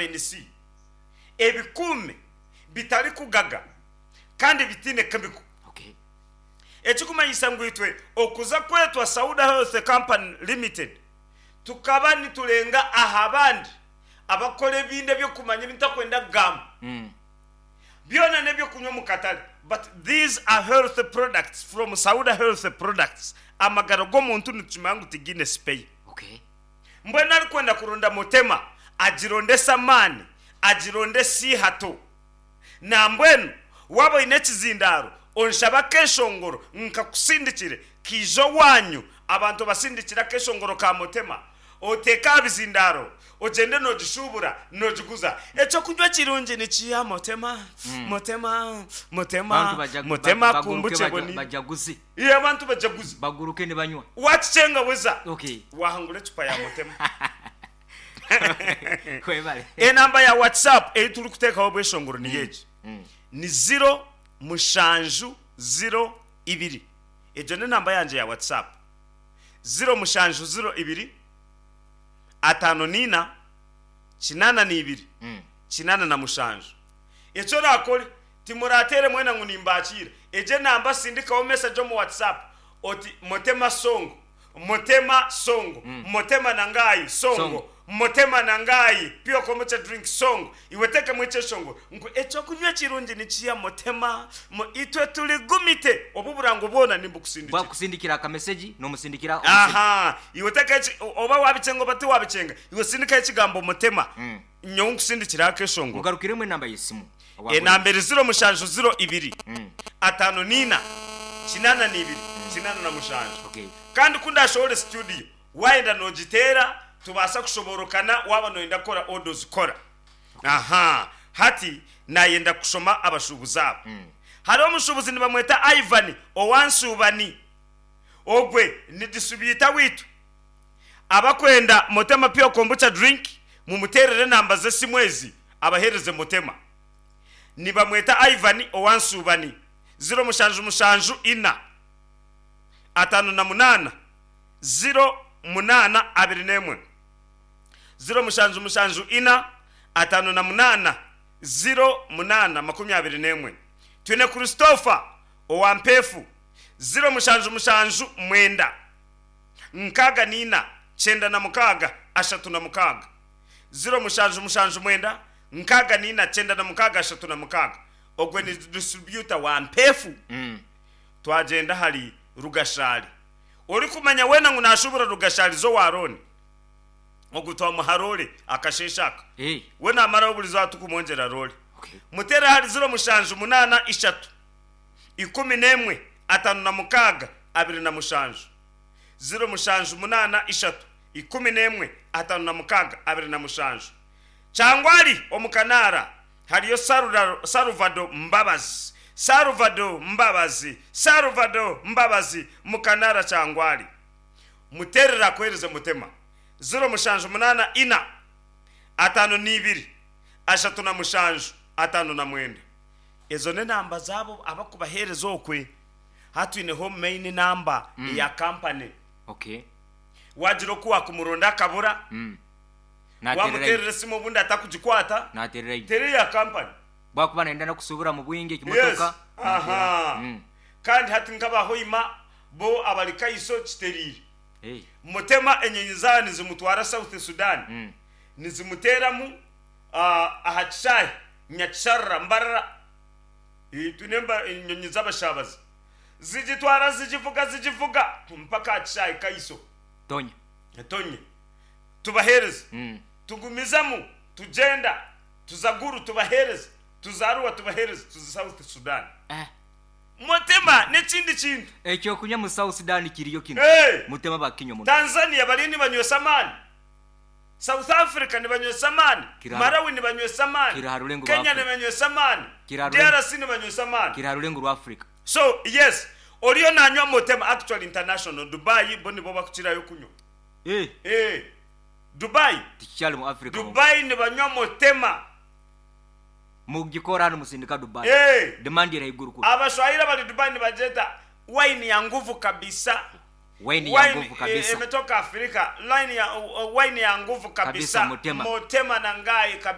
Vitamin C ebikuume bitarikugaga kandi bitaine chemical. Ekikumanyisa ngu itwe okuza kwetwa Sauda Health Company Limited tukaba niturenga aha bandi abakukora ebindi ebyokumanya ebi ntakwenda kugamba. Byona n'ebyokunywa omu katare but these are health products from Sauda Health Products. Amagara g'omuntu nitukimanya ngu tigaine sipeya. Mbwenu arikwenda kuronda Mutema agirondese amaani, agirondese eihato. Nambwenu waaba oine ekizindaaro onshabe akeshongoro nkakusindikire kaije owaanyu abantu obasindikire akeshongoro ka Mutema oteeke aha bizindaaro ogyende noogishuubura noogiguza. Eky'okunywa kirungi nikiiha Mutema, Mutema, Mutema, Abantu baja- Mutema baguruke kumbuche baja- boni. bajaguze. Iwe abantu bajaguze. Baguruke nibanywa. Waakikyenga weza Okay. waahangura ecupa ya Mutema. Webale. Enamba ya WhatsApp ei turikuteekaho obweshongoro niyo egi, ni ziro mushanju ziro ibiri. Egyo n'enamba yangye ya WhatsApp. 0702 54 82 87. Eki oraakore, timuraateere mwena ngu nimbakiira. Egyo enamba sindikaho mesegi omu WhatsApp oti, Motema Songo, Motema Songo, Motema na Ngai Songo, Motema na Ngai Pure Kombucha Drink Songo. Iwe teekamu ekyeshongoro ngu eky'okunywa ekirungi nikiiha Motema, mo, itwe turi gumite. Obu burango bwona nimbukusindikira. Bwakusindikira akamesegi nomusindikira Aha, iwe teekaho eki, oba waabikyenga oba tiwaabikyenga, iwe sindikaho ekigambo Motema, nyowe nkusindikireho akeshongoro. Mugarukiremu enamba y'esimu. Enamba eri ziro mushanju ziro ibiri, 54, 82, 87. Kandi ku ndaashohore situdiyo, waayenda noogiteera tubaasa kushoboorokana waaba nooyenda kukora oda ozikora. Aha, hati naayenda kushoma abashuubuzi aba. Hariho omushuubuzi nibamweta Ivan owa Nsuubani. Ogwe ni disitribyuta waitu. Abakwenda Motema Pure Kombucha Drink mumuteerere enamba z'esimu ezi abaheereze Motema. Nibamweta Ivan owa Nsuubani, ziro mushanju mushanju ina, 58, 0 munaana 21. 0774 58 08 21. Twine Christopher owa Mpeefu, 0779 64 96 36. 0779 64 96 36. Ogwe ni distributor wa Mpeefu. Twagyenda ahari Rugashari. Orikumanya weena ngu naashuubura Rugashari z'owa Rooni, Ogu twamuha roore akasheeshe aka. We naamaraho buri izooba turikumwongyera roore. Muteere ahari 0783 11 56 27. 0783 11 56 27. Kyangwari omu Kanaara hariyo Salvado Mbabazi. Salvado Mbabazi, Salvado Mbabazi mu Kanaara Kyangwari. Muteerere akuheereze Mutema, 0784 52 37 59. Ezo n'enamba zaabo abakubaheereza okwe. Hati twineho main number eya company. Okay. Waagira oku waakumuronda akabura, Naateerera waamuteerera esimu obundi atakugikwata, Naateerera teera eya company. Bwakuba nayenda n'okusuubura mu bwingi Yes. ekimotoka, naateera. Aha. Kandi hati nk'aba Hoima bo abari Kaiso kitereire. Mutema enyonyi zaaba nizimutwara South Sudan nizimuteeramu aha kishaayi Nyakisharara, Mbarara. Twine enyonyi z'abashaabazi. Zigitwara zigivuga zigivuga mpaka aha kishaayi Kaiso. Tonya. Tonye. Tubaheereza. Tugumizamu tugyenda tuza Gulu tubaheereza, tuza Arua tubaheereza, tuza South Sudan. Mutema n'ekindi kintu. Ekyokunywa mu South Sudan kiriyo kinu. Hey! Mutema bakinywa muno. Tanzania bariyo nibanywesa amaani. South Africa nibanywesa amaani. Kiri aha- Malawi nibanywesa amaani. Kiri aha rurengo rwa Kenya Africa. nibanywesa amaani. Kiri aha rurengo- DRC nibanywesa amaani. Kiri aha rurengo rwa Africa. So yes, oriyo nanywa Mutema actually international Dubai bo nibo bakukirayo kunywa. Eh, Eh, Dubai, tikikyari mu Africa honka. Dubai nibanywa Mutema. Mugikora hanu musindika Dubai. Hey! Demand eri haiguru kubi. Abashwahili abari Dubai nibagyeta wine ya nguvu kabisa. Wine ya nguvu kabisa. Emetoka Afrika. Line ya, wine ya nguvu kabisa. Kabisa, Mutema. Mutema na ngai kabisa.